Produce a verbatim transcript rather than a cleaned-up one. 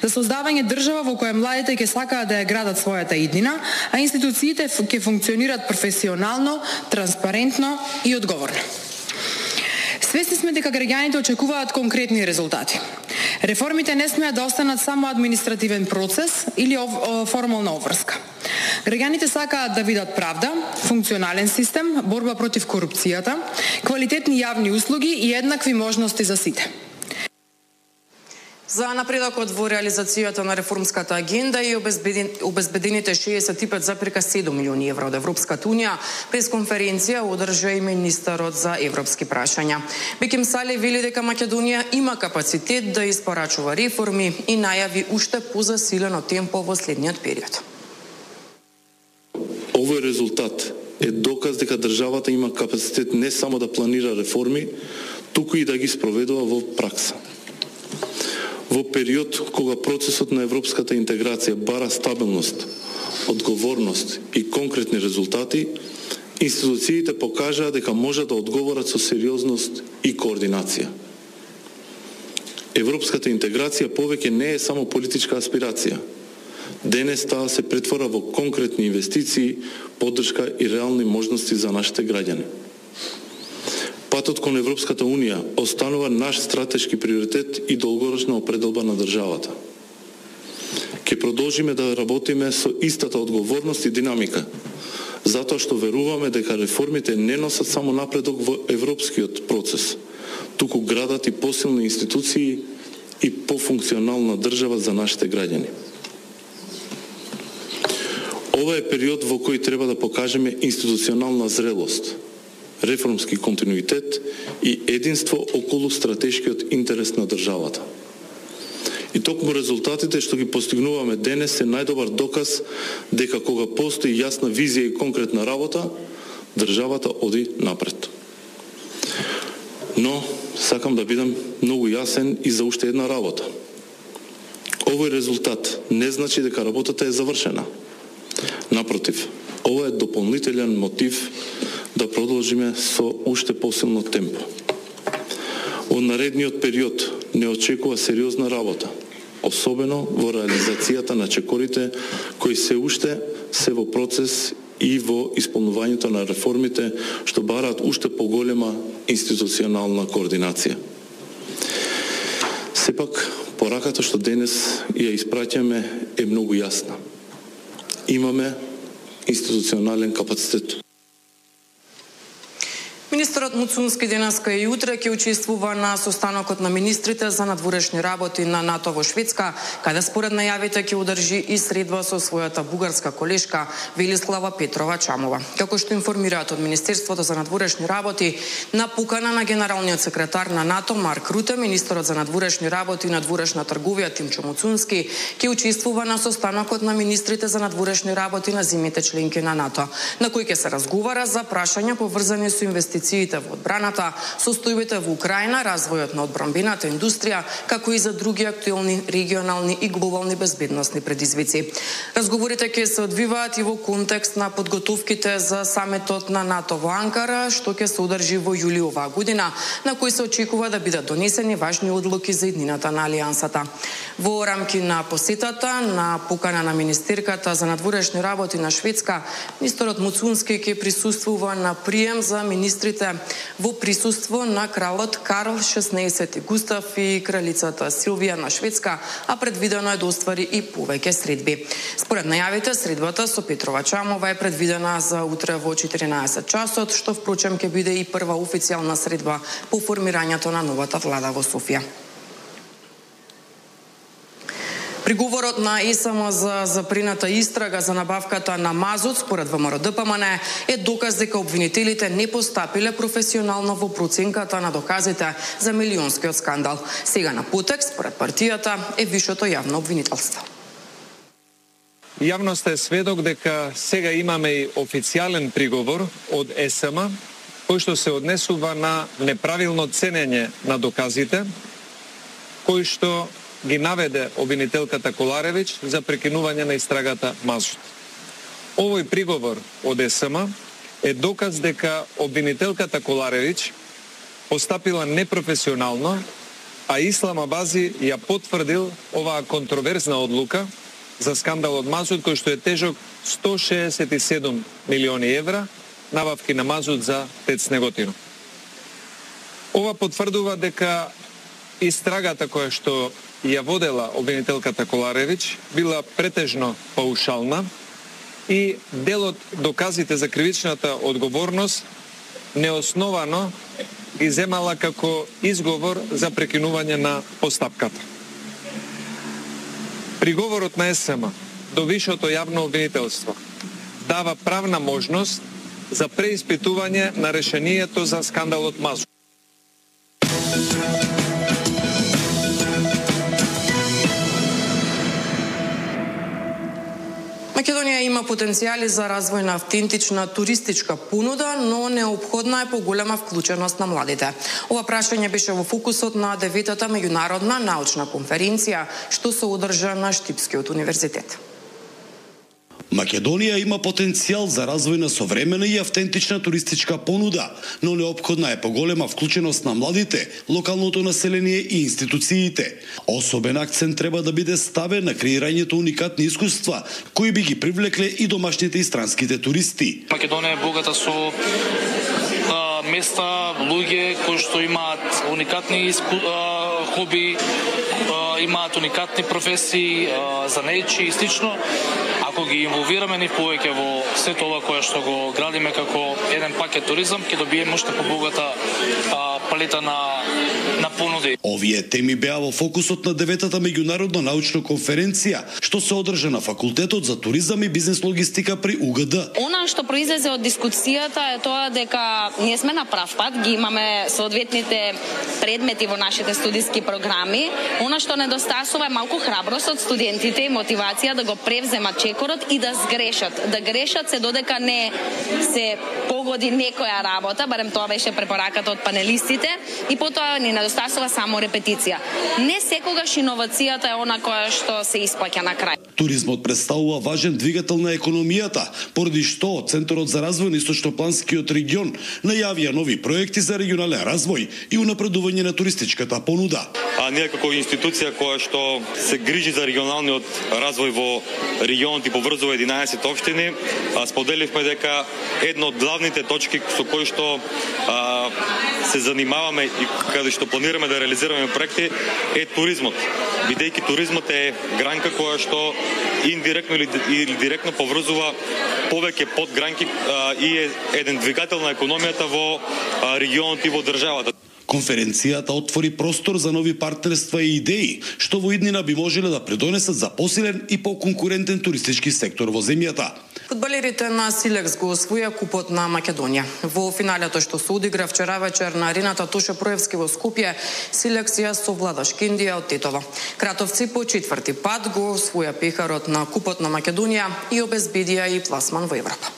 за создавање држава во која младите ќе сакаат да ја градат својата иднина, а институциите ќе функционираат професионално, транспарентно и одговорно. Свесни сме дека граѓаните очекуваат конкретни резултати. Реформите не смеат да останат само административен процес или формална обврска. Граѓаните сакаат да видат правда, функционален систем, борба против корупцијата, квалитетни јавни услуги и еднакви можности за сите. За напредокот во реализацијата на реформската агенда и обезбедените шеесет и пет запирка седум милиони евра од Европската унија, пресконференција одржа и министерот за европски прашања. Беким Сали вели дека Македонија има капацитет да испорачува реформи и најави уште позасилено темпо во следниот период. Овој резултат е доказ дека државата има капацитет не само да планира реформи, туку и да ги спроведува во пракса. Во период кога процесот на европската интеграција бара стабилност, одговорност и конкретни резултати, институциите покажаа дека можат да одговорат со сериозност и координација. Европската интеграција повеќе не е само политичка аспирација. Денес таа се претвора во конкретни инвестиции, поддршка и реални можности за нашите граѓани. Патот кон Европската Унија останува наш стратешки приоритет и долгорочна определба на државата. Ќе продолжиме да работиме со истата одговорност и динамика, затоа што веруваме дека реформите не носат само напредок во европскиот процес, туку градат и посилни институции и пофункционална држава за нашите граѓани. Ова е период во кој треба да покажеме институционална зрелост, реформски континуитет и единство околу стратешкиот интерес на државата. И токму резултатите што ги постигнуваме денес се најдобар доказ дека кога постои јасна визија и конкретна работа, државата оди напред. Но сакам да бидам многу јасен и за уште една работа. Овој резултат не значи дека работата е завршена. Напротив, ова е дополнителен мотив да продолжиме со уште посилно темпо. Во наредниот период не очекува сериозна работа, особено во реализацијата на чекорите кои се уште се во процес и во исполнувањето на реформите што бараат уште поголема институционална координација. Сепак, пораката што денес ја испраќаме е многу јасна. Имаме институционален капацитет. Министерот Муцунски денеска и утре ќе учествува на состанокот на министрите за надворешни работи на НАТО во Шведска, каде според најавите ќе одржи и средба со својата бугарска колешка Велислава Петрова Чамова. Како што информираат од Министерството за надворешни работи, на покана на генералниот секретар на НАТО Марк Руте, министерот за надворешни работи и надворешна трговија Тимчо Муцунски ќе учествува на состанокот на министрите за надворешни работи на земјите членки на НАТО, на кој ќе се разговара за прашања поврзани со инвестициите во одбраната, состојбите во Украина, развојот на одбранбената индустрија, како и за други актуелни регионални и глобални безбедносни предизвици. Разговорите ќе се одвиваат и во контекст на подготовките за самитот на НАТО во Анкара, што ќе се одржи во јули оваа година, на кој се очекува да бидат донесени важни одлуки за иднината на алијансата. Во рамки на посетата на покана на министерката за надворешни работи на Шведска, министерот Муцунски ќе присуствува на прием за министри во присуство на кралот Карл шеснаесети Густав и кралицата Силвија на Шведска, а предвидено е да оствари и повеќе средби. Според најавите, средбата со Петрова Чамова е предвидена за утре во четиринаесет часот, што впрочем ќе биде и прва официјална средба по формирањето на новата влада во Софија. Приговорот на ЕСМ за запрената истрага за набавката на мазут според ВМРО-ДПМН е доказ дека обвинителите не постапиле професионално во проценката на доказите за милионскиот скандал. Сега на потек, според партијата, е вишето јавно обвинителство. Јавноста е сведок дека сега имаме и официјален приговор од ЕСМ, кој што се однесува на неправилно ценење на доказите, кој што ги наведе обвинителката Коларевич за прекинување на истрагата Мазут. Овој приговор од ЕСМ е доказ дека обвинителката Коларевич постапила непрофесионално а Исламабази ја потврдил оваа контроверзна одлука за скандалот мазут кој што е тежок сто шеесет и седум милиони евра набавки на мазут за ТЕЦ Неготино. Ова потврдува дека истрагата која што ја водела обвинителката Коларевич била претежно паушална и дел од доказите за кривичната одговорност неосновано ги земала како изговор за прекинување на постапката. Приговорот на ЕСМ до Вишото јавно обвинителство дава правна можност за преиспитување на решението за скандалот мазут. Македонија има потенцијали за развој на автентична туристичка понуда, но неопходна е поголема вклученост на младите. Ова прашање беше во фокусот на деветата меѓународна научна конференција, што се одржа на Штипскиот универзитет. Македонија има потенцијал за развој на современа и автентична туристичка понуда, но неопходна е поголема вклученост на младите, локалното население и институциите. Особен акцент треба да биде ставен на креирањето уникатни искуства, кои би ги привлекле и домашните и странските туристи. Македонија е богата со а, места, луѓе кои што имаат уникатни иску, а, хоби, а, имаат уникатни професии, а, занејчи и слично. Ако ги инволвираме ни повеќе во сето ова кое што го градиме како еден пакет туризам, ќе добиеме уште побогата а, палета на на понуди. Овие теми беа во фокусот на деветата меѓународна научна конференција, што се одржа на Факултетот за туризам и бизнес логистика при У Г Д. Она што произлезе од дискусијата е тоа дека ние сме на прав пат, ги имаме соодветните предмети во нашите студиски програми. Она што недостасува е малку храброст од студентите и мотивација да го превземат чекорот и да сгрешат. Да грешат се додека не се погоди некоја работа, барем тоа беше препораката од панелистите, и потоа ни недостасува само репетиција. Не секогаш иновацијата е она која што се исплаќа на крај. Туризмот представува важен двигател на економијата, поради што Центарот за развој на Источнопланскиот регион најавија нови проекти за регионален развој и унапредување на туристичката понуда. А ние како институција која што се грижи за регионалниот развој во регионот и поврзува единаесет општини, споделивме дека една од главните точки со кои што а, се занимаваме и каде што планираме да реализираме проекти е туризмот. Бидејќи туризмот е гранка која што индиректно или, или директно поврзува повеќе подгранки а, и е еден двигател на економијата во а, регионот и во државата. Конференцијата отвори простор за нови партнерства и идеи, што во иднина би можеле да придонесат за посилен и поконкурентен туристички сектор во земјата. Фудбалерите на Силекс го освоја купот на Македонија. Во финалето што се одигра вчера вечер на арената Тоше Проевски во Скопје, Силекс ја совлада Шкиндија од Тетово. Кратовци по четврти пат го освоја пехарот на купот на Македонија и обезбедија и пласман во Европа.